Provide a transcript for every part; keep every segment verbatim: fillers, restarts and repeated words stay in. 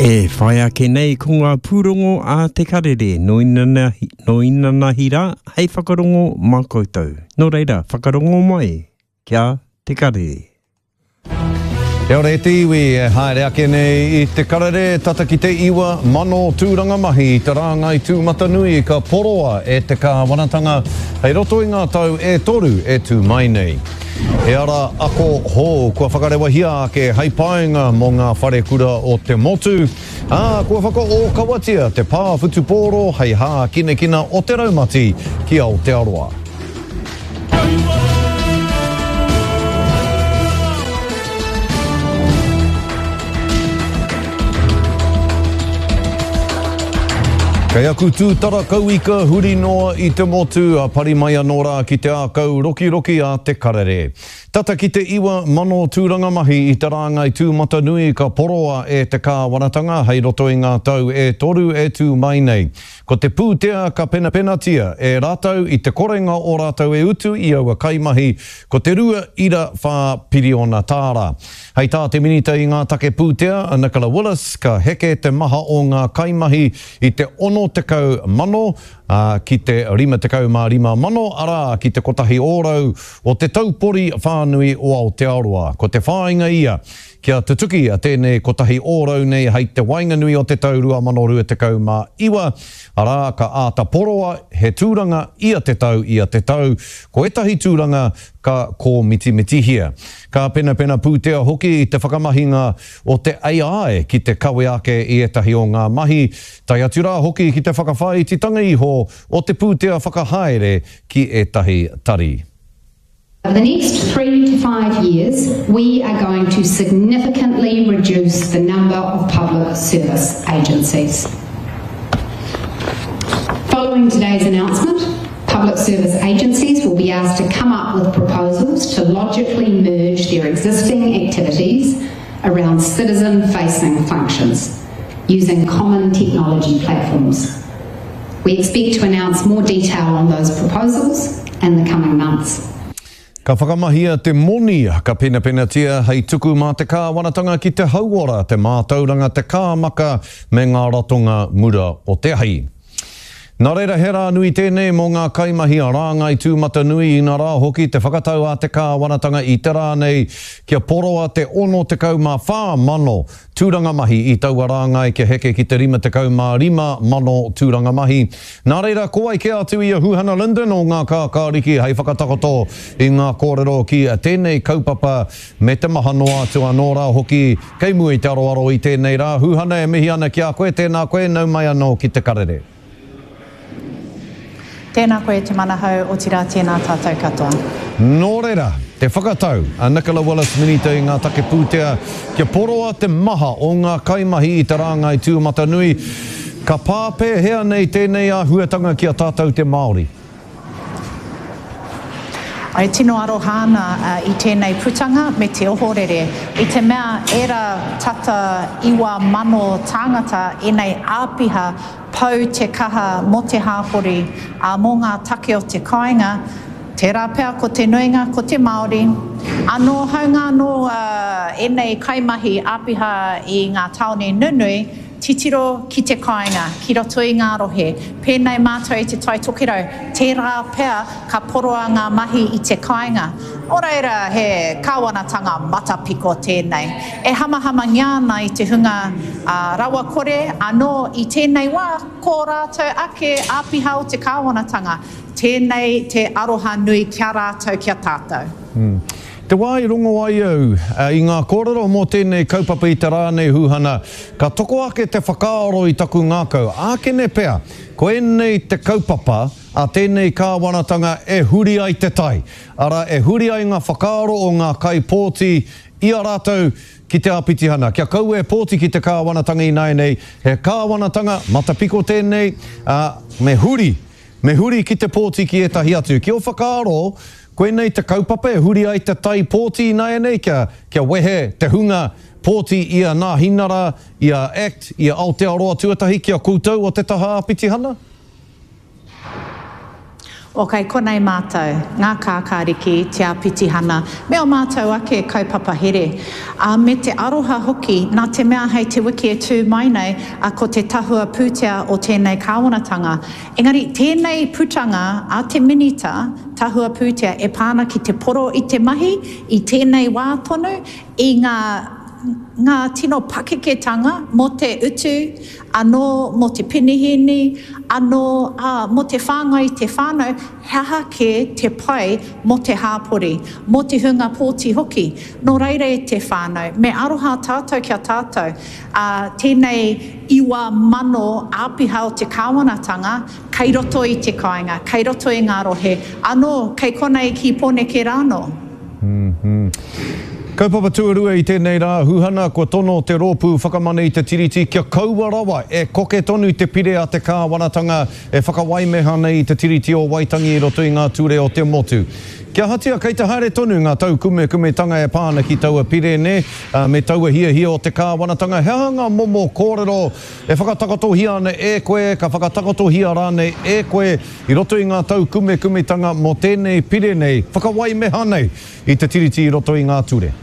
E whai ake nei ko ngā pūrongo a Te Karere no inanahi, no inanahi rā hei whakarongo mā koutou. Nō reira, whakarongo mai kia Te Karere. Kia ora e te iwi e haere ake nei i Te Karere tata ki te iwa mano tūranga mahi i te rāngai tūmatanui ka poroa e te kāwanatanga hei roto i ngā tau e toru e tū mai nei. He ara ako hou kua whakarewahia ake hei painga mō ngā wharekura o te motu, ā, kua whakaōkawatia te pā whutupōro hei hākinakina o te raumati ki Aotearoa. Kei aku tūtara kauika huri noa i te motu, a pari mai anō rā ki te ākau rokiroki a Te Karere. Tata ki te iwa mano tūranga mahi i te rāngai tūmatanui ka poroa e te kāwanatanga hei roto i ngā tau e toru e tū mai nei. Ko te pūtea ka penapenatia e rātou i te korenga o rātou e utu i aua kaimahi ko te rua ira whā piriona tāra. Hei tā te minita i ngā take pūtea a Nicola Willis ka heke te maha o ngā kaimahi i te ono tekau mano, ā, ki te rima tekau mā rima mano, arā, ki te kotahi ōrau o te taupori whānui o Aotearoa. Ko te whāinga ia, kia tutuki a tēnei kotahi ōrau nei hei te waenganui o te tau rua mano rua tekau mā iwa, arā, ka āta poroa he tūranga ia te tau, ia te tau, ko ētahi tūranga ka kōmitimitihia. Ka penapena pūtea hoki i te whakamahinga o te A I ki te kawe ake i ētahi o ngā mahi, tae atu rā hoki ki te whakawhāititanga iho o te pūtea whakahaere ki ētahi tari. Over the next three to five years, we are going to significantly reduce the number of public service agencies. Following today's announcement, public service agencies will be asked to come up with proposals to logically merge their existing activities around citizen-facing functions using common technology platforms. We expect to announce more detail on those proposals in the coming months. Ka whakamahia te moni, ka penapenatia hei tuku mā te kāwanatanga ki te hauora, te mātauranga, te kāmaka me ngā ratonga mura o te ahi. Nā reira he rā nui tēnei mō ngā kaimahi a rāngai tūmatanui inā rā hoki te whakatau a te kāwanatanga i te rā nei kia poroa te ono tekau mā whā mano tūranga mahi i taua rāngai kia heke ki te rima tekau mā rima mano tūranga mahi. Nā reira, ko wai kē atu i a Huhana Lyndon o ngā kākāriki hei whakatakoto i ngā kōrero ki tēnei kaupapa me te maha noa atu anō rā hoki kei mua i te aroaro i tēnei rā. Huhana, e mihi ana ki a koe, tēnā koe, nau mai anō ki Te Karere. Tēnā koe te manahau, otirā tēnā tātou katoa. Nō reira, te whakatau a Nicola Willis Minita i ngā take pūtea kia poroa te maha o ngā kaimahi i te rāngai tūmatanui, ka pā pēhea nei tēnei āhuatanga ki a tātou te Māori? Ai tino aroha ana i tēnei putanga me te ohorere. I te mea era tata iwa mano tāngata enei āpiha pau te kaha mō te hāpori, ā, mō ngā take o te kāinga, tērā pea ko te nuinga, ko te Māori. Anō haunga anō ēnei kaimahi āpiha i ngā tāone nunui, titiro ki te kāinga, ki roto i ngā rohe. Pēnei mātou i te Tai Tokerau, tērā pea ka poroa ngā mahi i te kāinga. Nō reira, he kāwanatanga matapiko tēnei. E hamahamangia ana i te hunga rawakore, anō i tēnei wā, ko rātou ake āpiha o te kāwanatanga. Tēnei te aroha nui ki a rātou, ki a tātou. Te wā i rongo ai au i ngā kōrero mō tēnei kaupapa i te rā nei Huhana, ka toko ake te whakaaro i taku ngākau. Ākene pea, ko ēnei te kaupapa a tēnei kāwanatanga e huri ai te tai. Arā, e huri ai ngā whakaaro o ngā kaipōti i a rātou ki te āpitihana. Kia kaua e pōti ki te kāwanatanga ināianei, he kāwanatanga matapiko tēnei, ā, me huri, me huri ki te pōti ki ētahi atu. Ki ō whakaaro, koinei te kaupapa e huri ai te tai pōti ināianei kia, kia wehe te hunga pōti i a Nāhinara, i a Act, i a Aotearoa tuatahi ki a koutou o te taha āpitihana? O kei konei mātou, ngā kākāriki, te āpitihana, me ō mātou ake kaupapa here. Ā, me te aroha hoki, nā te mea hei te wiki e tū mai nei, ā, ko te tahua pūtea o tēnei kāwanatanga. Engari, tēnei putanga a te Minita Tahua Pūtea e pā ana ki te poro i te mahi, i tēnei wā tonu, i ngā, ngā tino pakeketanga mō te utu, anō mō te penihīni, anō, ā, mō te whāngai i te whānau, he aha kē te pai mō te hāpori, mō te hunga pōti hoki. Nō reira e te whānau, me aroha tātou ki a tātou, ā, tēnei iwa mano āpiha o te kāwanatanga kei roto i te kāinga, kei roto i ngā rohe, anō, kei konei ki Pōneke rānō. Kaupapa tuarua i tēnei rā, Huhana, kua tono te Rōpū Whakamana i te Tiriti kia kaua rawa e koke tonu te pire a te kāwanatanga e whakawaimeha nei i te Tiriti o Waitangi i roto i ngā ture o te motu. Kia ahatia, kei te haere tonu ngā taukumekumetanga e pā ana ki taua pire, nē, me taua hiahia o te kāwanatanga. He aha ngā momo kōrero e whakatakotohia ana e koe, ka whakatakotohia rānei e koe i roto i ngā taukumekumetanga mō tēnei pire nei, whakawaimeha nei i te Tiriti i roto i ngā ture?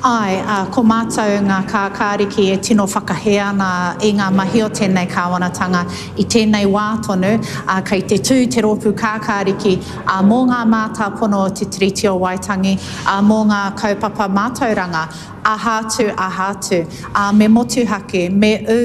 Āe, ā, ko mātou ngā kākāriki e tino whakahē ana i ngā mahi o tēnei kāwanatanga i tēnei wā tonu, ā, kei te tū te rōpū kākāriki, ā, mō ngā mātāpono o Te Tiriti o Waitangi, ā, mō ngā kaupapa mātauranga, aha atu, aha atu, ā, me motuhake, me ū,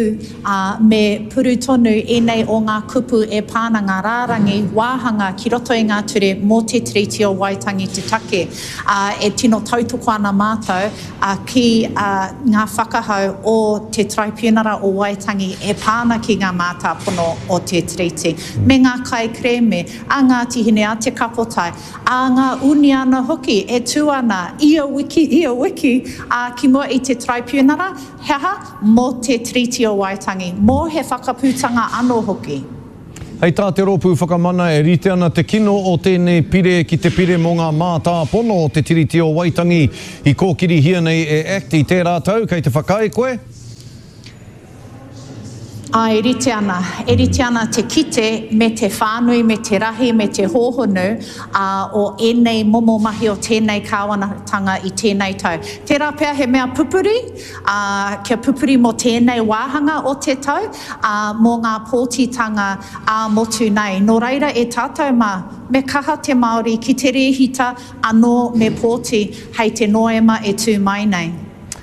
ā, me puru tonu ēnei o ngā kupu e pā ana ngā rārangi wāhanga ki roto i ngā ture mō Te Tiriti o Waitangi te take, ā, e tino tautoko ana mātou, ā, ki, ā, ngā whakahau o te Taraipiunara o Waitangi e pā ana ki ngā mātāpono o Te Tiriti, me ngā kaikerēme a Ngāti Hine, a Te Kapotai, a ngā uniana hoki e tū ana ia wiki, ia wiki, ā, ki mua i te Taraipiunara, he aha? Mō Te Tiriti o Waitangi, mō he whakaputanga anō hoki. Hei tā te Rōpū Whakamana e rite ana te kino o tēnei pire ki te pire mō ngā mātāpono o te Tiriti o Waitangi i kōkirihia nei e act i tērā tau, kei te whakaae koe? Āe, e rite ana. E rite ana te kite me te whānui, me te rahi, me te hōhonu, ā, o ēnei momo mahi o tēnei kāwanatanga i tēnei tau. Tērā pea he mea pupuri, ā, kia pupuri mō tēnei wāhanga o te tau, ā, mō ngā pōtitanga ā-motu nei. Nō reira e tātou mā, me kaha te Māori ki te rēhita anō me pōti hei te Noema e tū mai nei.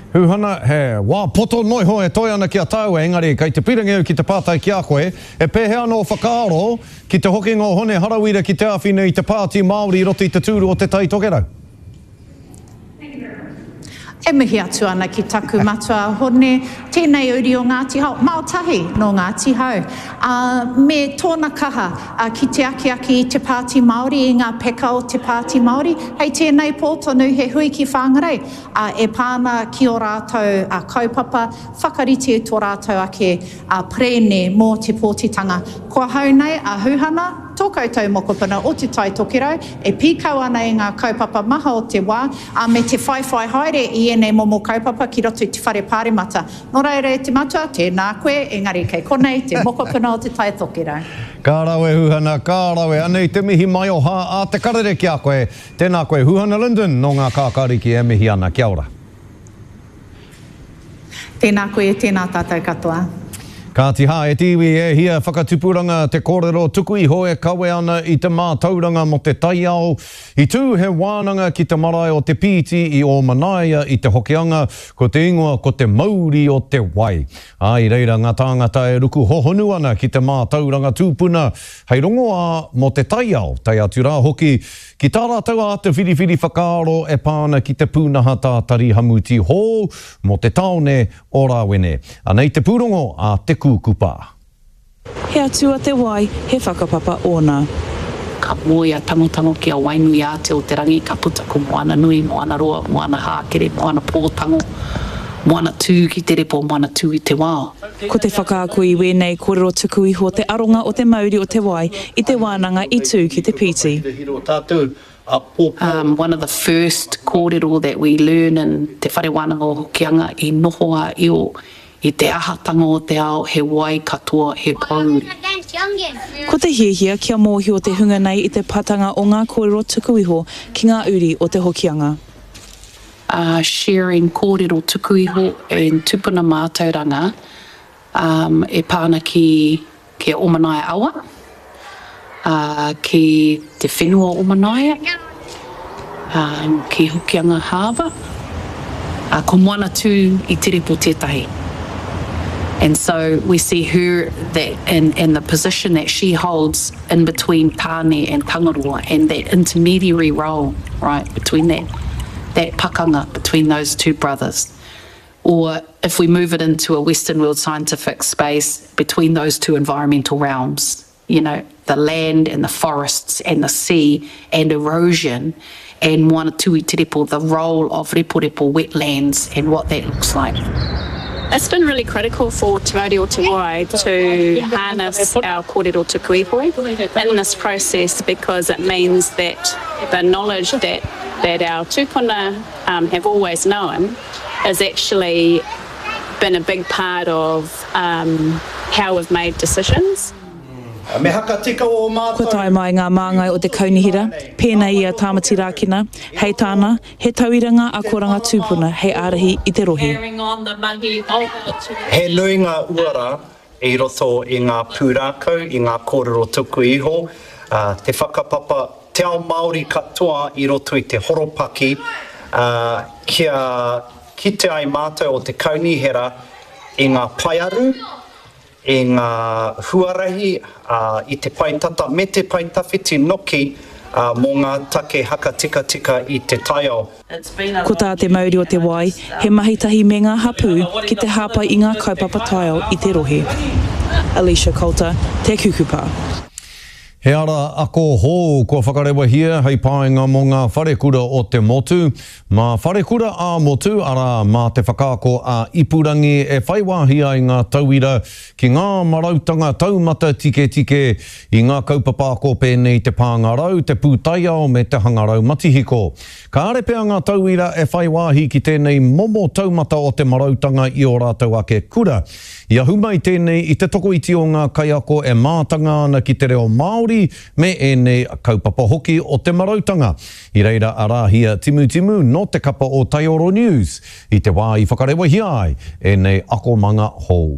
Huhana, he wā poto noa iho e toe ana ki a tāua, engari kei te pīrangi au ki te pātai ki a koe, e pēhea ana ō whakaaro ki te hokinga o Hone Harawira ki te āwhina i te Pāti Māori i roto i te tūru o Te Tai Tokerau? E mihi atu ana ki taku matua a Hone, tēnei uri o Ngāti Hao, mao tahi nō Ngāti Hau, ā, me tōna kaha ki te akiaki i te Pāti Māori, i ngā peka o te Pāti Māori. Hei tēnei pō tonu he hui ki Whangarei, ā, e pā ana ki ō rātou kaupapa, whakarite i tō rātou ake perēne mō te pōtitanga. Ko ahau nei a Huhana, Tō koutou mokopuna o Te Tai Tokerau e pīkau ana i ngā kaupapa maha o te wā, ā, me te whaiwhai haere i ēnei momo kaupapa ki roto i te Whare Pāremata. Nō reira e te matua, tēnā koe, engari kei konei te mokopuna o Te Tai Tokerau. Ka rawe Huhana, ka rawe. Anei te mihi maioha a Te Karere ki a koe. Tēnā koe Huhana Lyndon nō Ngā Kākāriki e mihi ana. Kia ora. Tēnā koe, tēnā tātou katoa. Kāti hā, e te iwi, e hia whakatupuranga te kōrero tuku iho e kawe ana i te mātauranga mō te taiao. I tū he wānanga ki te marae o Te Pīti i Ōmanaia i te Hokianga, ko te ingoa ko Te Mauri o te Wai. Ā, i reira ngā tāngata e ruku hohonu ana ki te mātauranga tūpuna hei rongoā mō te taiao, tae atu rā hoki ki tā rātou āta whiriwhiri whakaaro e pā ana ki te pūnaha tātari hamuti hou mō te tāone o Rāwene. Anei te pūrongo a Te Kūkupa. He atua te wai, he whakapapa ōna. Ka moe a Tangotango ki a Wainuiātea-o-te-rangi, ka puta ko Moananui, Moanaroa, Moanahākere, Moanapōtango, Moana tū ki te repo, moana tū i te wao. Ko te whakaako i wēnei kōrero tuku iho te aronga o te mauri o te wai i te wānanga i tū ki Te Pīti. Um, one of the first kōrero that we learn in Te Whare Wānanga o Hokianga i noho a Io i te ahatanga o te ao, he wai katoa, he pōuri. Ko te hiahia kia mōhio te hunga nei i te patanga o ngā kōrero tuku iho ki ngā uri o Te Hokianga. Uh, sharing kōrero tuku iho and tupuna mātauranga um, e pā ana ki, ki Omanaia awa, uh, ki te whenua o Omanaia, um, ki Hokianga Harbour. Uh, ko Moana Tū i Te Repo tētahi. And so we see her that in, in the position that she holds in between Tāne and Tangaroa and that intermediary role, right, between that, that pakanga between those two brothers. Or if we move it into a Western world scientific space between those two environmental realms, you know, the land and the forests and the sea and erosion and Moana Tū i Te Repo, the role of reporepo wetlands and what that looks like. It's been really critical for Te Mauri o Te Wai to harness our kōrero tuku iho in this process because it means that the knowledge that, that our tūpuna um, have always known is actually been a big part of um, how we've made decisions. Me hakatika o mātou. Kua tae mai ngā māngai o te kaunihera, pēnei i a Tāmati Rākena, hei tāna, he tauira ngā akoranga tūpuna hei ārahi i te rohe. He nui ngā uara i roto i ngā pūrākau, i ngā kōrero tuku iho, te whakapapa, te ao Māori katoa i roto i te horopaki, kia kite ai mātou o te kaunihera i ngā paearu, i ngā huarahi, i te pae tata me te pae tawhiti noki mō ngā take hakatikatika i te taiao. Ko tā Te Mauri o Te Wai, he mahi tahi me ngā hapū ki te hāpai i ngā kaupapa taiao i te rohe. Alicia Coulter, Te Kukupa. He ara ako hou kua whakarewahia hei painga mō ngā wharekura o te motu. Mā wharekura ā-motu, arā mā te whakaako a ipurangi e whai wāhi ai ngā tauira ki ngā marautanga taumata tiketike i ngā kaupapa ako pēnei te pāngarau, te pūtaiao me te hangarau matihiko. Kāre pea ngā tauira e whai wāhi ki tēnei momo taumata o te marautanga i o rātou ake kura. I ahu mai tēnei i te tokoiti o ngā kaiako e mātanga ana ki te reo Māori me ēnei kaupapa hoki o te marautanga. I reira a Rāhia Timutimu nō te kapa o Taioro News i te wā i whakarewahia ai ēnei akomanga hou.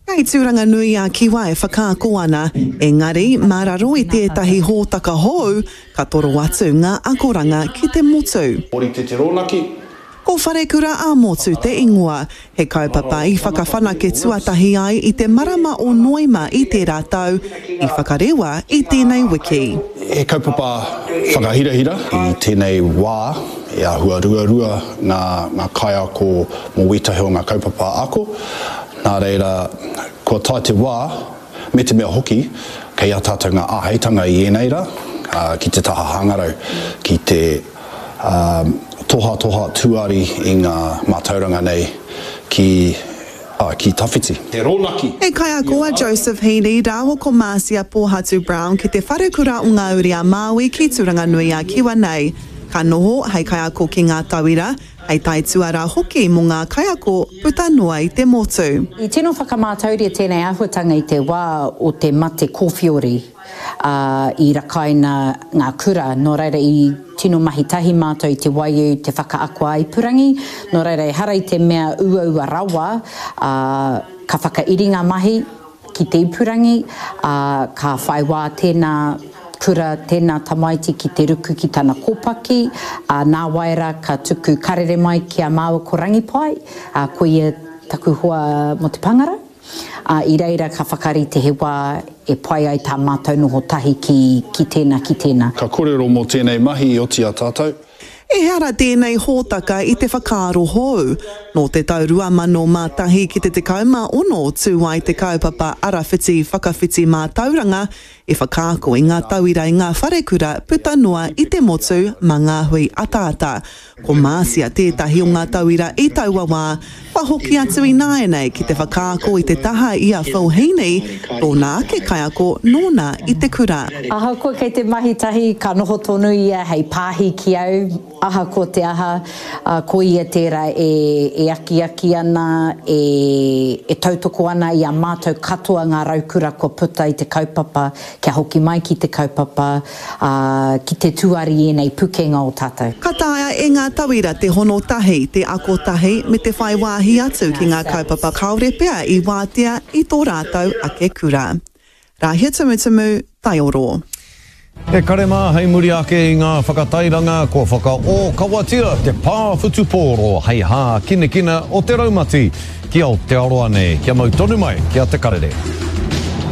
Kei Tūranga nui a Kiwa e whakaako ana, engari mā raro i tētahi hōtaka hou, ka toro atu ngā akoranga ki te motu. Orite te rōnaki. Ko Wharekura ā-motu te ingoa, he kaupapa i whakawhanake tuatahi ai i te marama o Noema i tērā tau, i whakarewa i tēnei wiki. He kaupapa whakahirahira i tēnei wā, e āhua ruarua ngā, ngā kaiako mō wētahi o ngā kaupapa ako. Nā reira, kua tae te wā, me te mea hoki, kei a tātou ngā āheitanga i ēnei rā, ki te taha hangarau, ki te um, toha toha tuari i ngā mātauranga nei ki, uh, ki tawhiti. Te rōnaki. He kaiako a Joseph Heaney rāua ko Marcia Pōhatu Brown ki te wharekura o Ngā Uri a Māui ki Tūranga nui a Kiwa nei. Ka noho hei kaiako ki ngā tauira, hei taituara hoki mō ngā kaiako puta noa i te motu. I tino whakamātauria tēnei āhuatanga i te wā o te mate kōwhiori uh, i rakaina ngā kura, nō reira i tino mahi tahi mātou i te waiu, te whakaako a ipurangi, nō reira ehara i te mea uaua rawa, uh, ka whakairi ngā mahi ki te ipurangi, uh, ka whai wā tēnā kura, tēnā tamaiti ki te ruku ki tana kōpaki, uh, nā waira ka tuku karere mai ki a māua ko Rangipai, uh, ko ia taku hoa mō te pāngarau. Uh, i reira ka whakarite he wā e pai ai tā mātou noho tahi ki, ki tēnā, ki tēnā. Ka kōrero mō tēnei mahi i oti a tātou. Ehara tēnei hōtaka i te whakaaro hou. Nō te tau rua mano mā tahi ki te tekau mā ono tū ai te kaupapa arawhiti whakawhiti mātauranga i whakaako i ngā tauira i ngā wharekura puta noa i te motu mā ngā hui ataata. Ko Marcia tētahi o ngā tauira i taua wā, kua hoki atu ināianei ki te whakaako i te taha i a Phil Heaney, tōna ake kaiako nōna i te kura. Ahakoa kei te mahi tahi, ka noho tonu ia hei pāhi ki au, ahakoa te aha, ko ia tērā e akiaki ana, e tautoko ana i a mātou katoa ngā raukura kua puta i te kaupapa, kia hoki mai ki te kaupapa, ā, ki te tuari i ēnei pukenga o tātou. Ka taea e ngā tauira te hono tahi, te ako tahi, me te whai wāhi atu ki ngā kaupapa kāore pea i wātea i tō rātou ake kura. Rāhia Tumutumu, Taioro. E kare mā hei muri ake i ngā whakatairanga kua whakaōkawatia te pā whutupōro hei hākinakina o te raumati ki Aotearoa nei. Kia mau tonu mai ki a Te Karere.